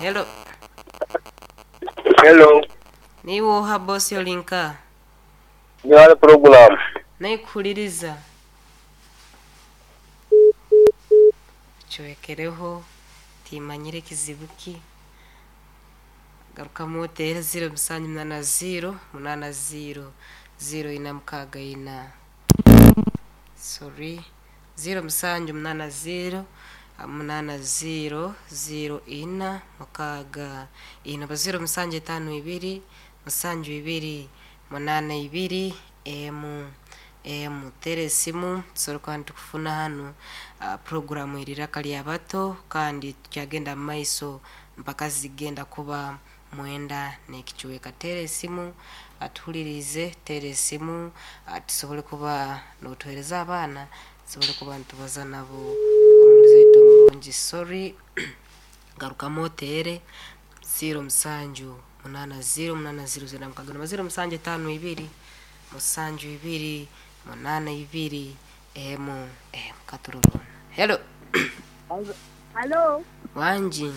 Hello. Hello, Niiwe oha boss ori nka? Ndi ghale pulogulaamu. Naikuhuliriza. Ocwekereho, timanyire kizibu ki. Garukamu oteere ziiro musanju munaana ziiro munaana ziiro ziiro ina mukaaga ina. Sorry. Ziiro musanju munaana ziiro munaana ziiro ziiro ina mukaaga ina oba ziiro musanju etaano ibiri musanju ibiri munaana ibiri emu emu. Teera esimu tusobole kuba nitukufuna hanu. Puroguramu eri Iraka ly'Abato kandi tukyagenda mu maiso mpaka zigenda kuba mwenda n'ekicweka. Teera esimu atuhuliriize, teera esimu tusobole kuba nootuheereza abaana tusobole kuba nitubaza nabo omuhuriza waitu omurungi. Sorry, garukamu oteere ziiro musanju munaana ziiro munaana ziiro ziiro mukaaga noba ziiro musanju etaano ibiri musanju ibiri munaana ibiri emu emu. Katurorona. Hello. Halo, Wangi.